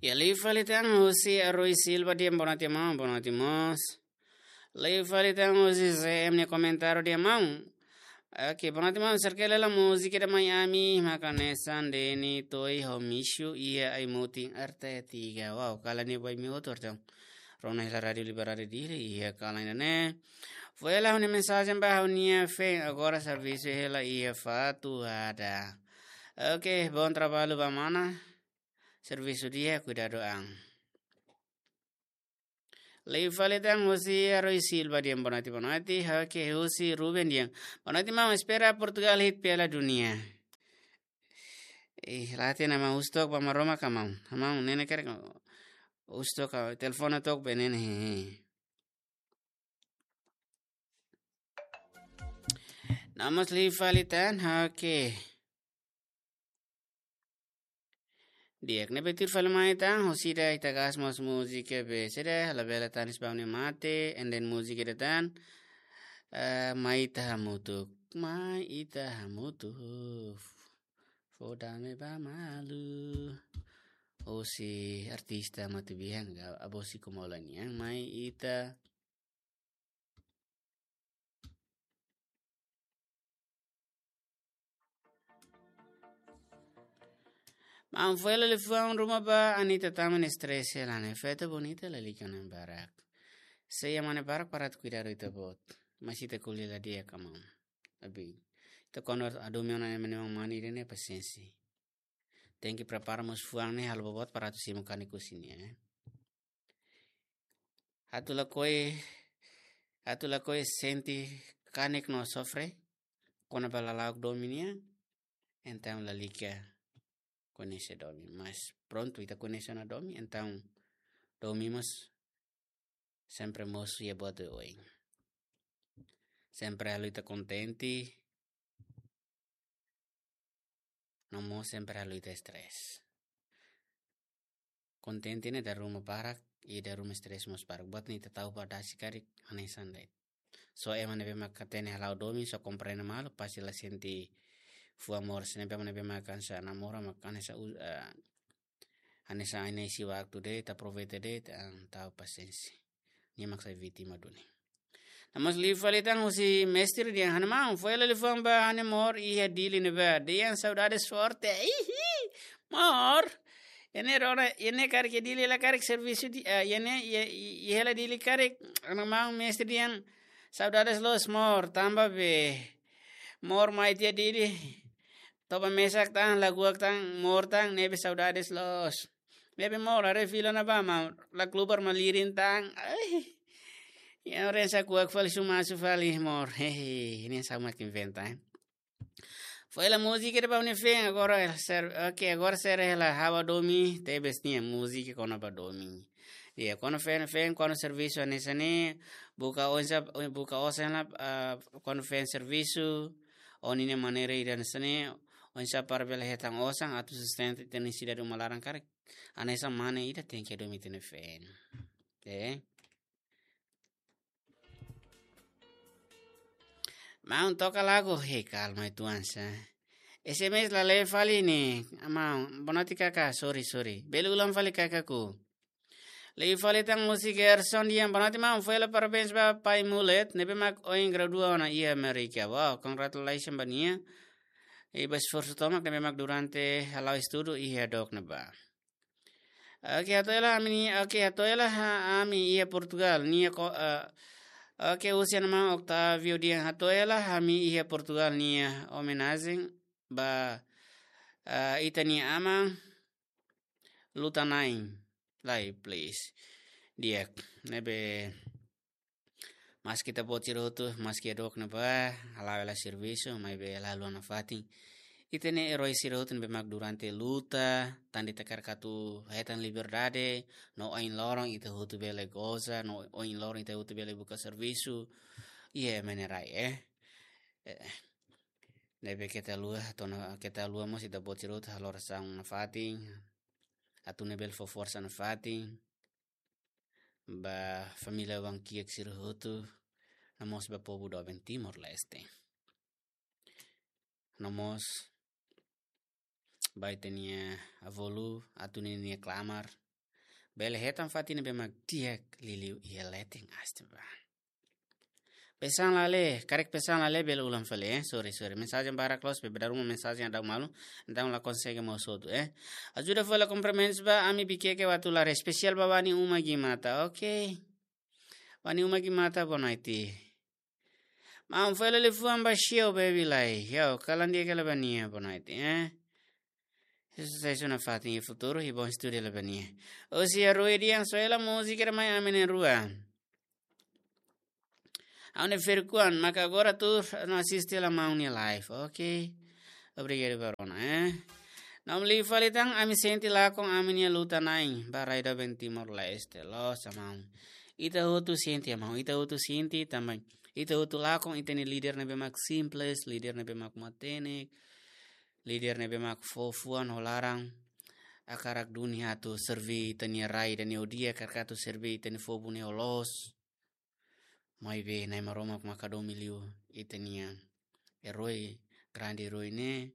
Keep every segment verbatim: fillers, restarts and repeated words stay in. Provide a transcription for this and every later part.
Ya, liu fali tan husi Aroi Silva dehan boa noite maun, boa noite mós. Liu fali tan husi C M nia komentáriu dehan maun. Oke, boa noite maun, serkele la múzika ida mai ami, maka hanesan Deni To'i ho Mishu iha ai-mutin R T tiga. Wow, kalan ne'e ba imi hotu artinya. Rona hela Rádiu Liberdade Dili, iha kalan ida-ne'e. Foin hela ha'u-nia mensajen ba ha'u-nia feen, agora servisu hela iha Fatuhada. Oke, bom trabalho ba mana. Servisu di'ak, kuidadu an. Liu fali tan husi Aroi Silva dehan boa noite, boa noite. Oke, husi Ruben dehan boa noite maun, espera Portugal hit Piala Dunia. Eh, la hatene maun, husu took ba Maromak ka maun. Maun, ne'e ne'e karik husu took ka, telefone took ba ne'e ne'e. No mós liu fali tan, oke. Di'ak, ne'ebé tuir fali mai tan, husi ida ita gas mós múzika be, sede, labele tanis ba ne'e mate, and then múzika ida tan, eh, Mai Ita Hamutuk, Mai Ita Hamutuk, fó dame ba malu. Husi artista Matubian, ga, Abosiko Maulanian, Mai Ita. Maun, foin hela liafuan ruma ba Anita Taman, stress hela ne'e. Festa bonita lalika ona barak. Sei iha mane barak para atu kuidadu ita-boot. Mas ita ko'alia la di'ak ka maun. Abi, ita kuandu hadomi ona ema nia mane ida-ne'e pasiénsia. Tenke prepara mós fuan ne'e halo boboot para atu simu kanek husi nia, eh. Atu lakohi, atu lakohi sente kanek no sofre kona-ba lala'ok domin nian, entaun lalika koñese domin. Mas prontu, ita koñese ona domin, entaun domin mós sempre mosu iha buat oioin. Sempre halo ita kontente, no mós sempre halo ita stress. Kontente ne'e dala ruma barak, i dala ruma stress mós barak. Buat ne'e ita tau ba dasi karik, hanesan de'it. Só ema ne'ebé mak hatene hala'o domin, só komprende malu, pasti la sente fuan moras. Ne'ebé ema ne'ebé mak hanesan namora, mak hanesan u-, eh, hanesan aina isi waktu de'it, aproveita de'it, entaun pasiénsia. Nia mak sai vítima duni. No mós liu fali tan husi mestre dehan ha'u-nia maun, foin hela liafuan ba ha'u-nia amór iha Dili ne'ebá. Dehan saudades forte. Ihi, amór. Iha ne'e rona, iha ne'e karik iha Dili hela karik servisu di, ah, iha ne'e, iha, iha, iha hela Dili karik. Ha'u-nia maun mestre dehan saudades loos amór, tanba be amór mai tiha Dili. Toba mesak tan, lakohi tan, amór tan, ne'ebé saudades loos. Ne'ebé amór, haree fila ne'ebá, maun, la klubar malirin tan. Ai. Ya, oren sa kuak fali sumasu fali amór. Hehe, ne'e sá mak inventa, eh. Foin hela múzika ida ba ha'u-nia feen, agora ser, oke, agora sira hela ha'u domin, tebes nia múzika kona-ba domin. Ya, kuandu feen, feen, kuandu servisu hanesan ne'e, buka oinsá, buka osan hela, ah, kuandu feen servisu, ó-nia maneira ida hanesan ne'e, oinsá para bele hetan osan, atu sustenta ita-nia sidade uma laran karik. Hanesan mane ida tenke domin ita-nia feen. Eh? Maun, toka lagu. Hei, kalma uitoan sá. S M S la lee fali ne'e. Maun, boa noite kaká, sorry, sorry. Bele ulang fali kaká ku. Liu fali tan husi Gerson dehan boa noite maun, foin hela parabéns ba Pai Mulet, ne'ebé mak ohin gradua ona iha Amérika. Wow, congratulations ba nia. I ba esforsu tomak ne'ebé mak durante hala'o estudu iha dook ne'ebá. Oke, hato'o hela ami, oke, hato'o hela ha-, ami iha Portugal, nia ko, eh, oke, husi ha'u-nia maun Octavio dehan hato'o hela ami iha Portugal nia omenajen ba, eh, ita-nia aman Luta Na'in. Lai, please. Di'ak, ne'ebé maski ita-boot sira hotu, maski iha dook ne'ebá, hala'o hela servisu, maibé la haluha nafatin. Ita-nia eroi sira hotu ne'ebé mak durante luta, tan de'it hakarak atu hetan liberdade, no ohin loron ita hotu bele goza, no ohin loron ita hotu bele buka servisu. Iha ema nia rai, eh. Eh, ne'ebé keta haluha, tona keta haluha mós ita-boot sira hotu halo orasaun nafatin. Atu nune'e bele fó forsa nafatin ba família oan-kiak sira hotu, no mós ba povu doben Timor-Leste. No mós ba ita-nia avó Lu, atu ninia klamar, bele hetan fatin ne'ebé mak di'ak liuliu iha leten aste ba. Pesan lale, karik pesan lale bele ulang fali, eh. Sorry, sorry. Mensajen barak loos, bebedar uma mensajen daudaun malu. Entaun la konsege mós hotu, eh. Ajuda fali komprimentus ba, ami Bikeke Watulari, espesiál ba Wani Uma Gimata, ok. Wani Uma Gimata, boa noite. Maun, fali liafuan ba Shio Baby Lai. Yo, kalan dia kala ba nia, boa noite, eh. Susesu nafatin iha futuru, i bom estudu la ba nia. Osi a rua dian soela múzika da mai ami na'in-rua. Ha'u-nia ferik-oan, maka agora tuur no asiste hela maun nia live, ok? Obrigadu ba rona, eh? Naum li fali tan, ami sente lakon ami-nia luta-na'in ba rai doben Timor-Leste, loos maun. Ita hotu sente, maun, ita hotu sente tanba ita hotu lakon ita-nia líder ne'ebé mak simples, líder ne'ebé mak matenek, líder ne'ebé mak fó fuan ho laran, hakarak duni atu serví ita-nia rai ida-ne'e ho di'ak, hakarak atu serví ita-nia povu ne'e ho loos. Maibé Na'i Maromak maka domin liu ita-nia eroi, grande eroi ne'e,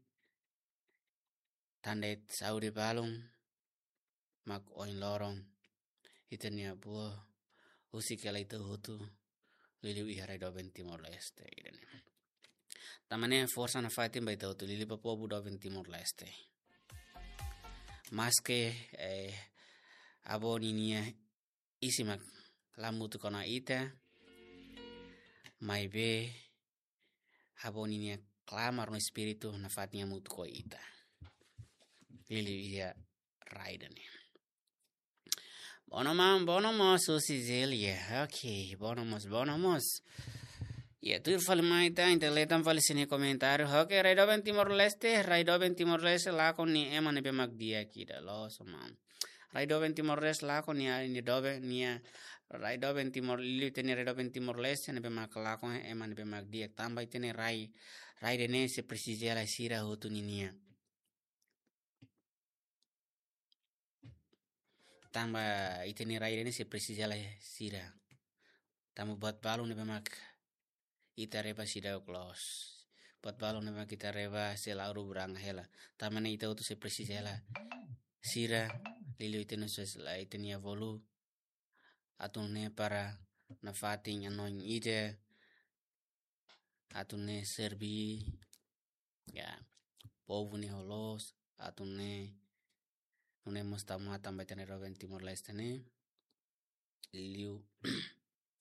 tan de'it saúde balun, mak ohin loron ita-nia avó husik hela ita hotu, liuliu iha rai doben Timor-Leste ida-ne'e. Tanba ne'e forsa nafatin ba ita hotu, liuliu ba povu doben Timor-Leste. Maske, eh, avó ninia isin mak la hamutuk ona ita, maibé avó ninia klamar no espíritu nafatin hamutuk ho ita, liuliu iha rai ida-ne'e. Bono maun, bono mós, Susi Zelia. Ok, bono mós, bono mós. Ya, tuir fali mai ita, ita leten fali sira-nia komentáriu. Ok, rai doben Timor-Leste, rai doben Timor-Leste lakon nia ema ne'ebé mak di'ak ida, loos maun. Rai doben Timor-Leste lakon nia, nia doben nia, rai doben Timor, liuliu ita-nia rai doben Timor-Leste ne'ebé mak lakon ema ne'ebé mak di'ak, tanba ita-nia rai, rai ida-ne'e sei presiza hela sira hotu ninia. Tanba ita-nia rai ida-ne'e sei presiza hela sira. Tanba buat balun ne'ebé mak ita reba seidauk loos. Buat balun ne'ebé mak ita reba sei la'o bubranga hela. Tanba ne'e ita hotu sei presiza hela sira, liuliu ita-nia sosiedade, ita-nia avó lulik, atu nune'e para nafatin hanoin ida, atu nune'e serví, ya, povu ne'e ho loos, atu nune'e, nune'e mós tau matan ba ita-nia rai doben Timor-Leste ne'e, liuliu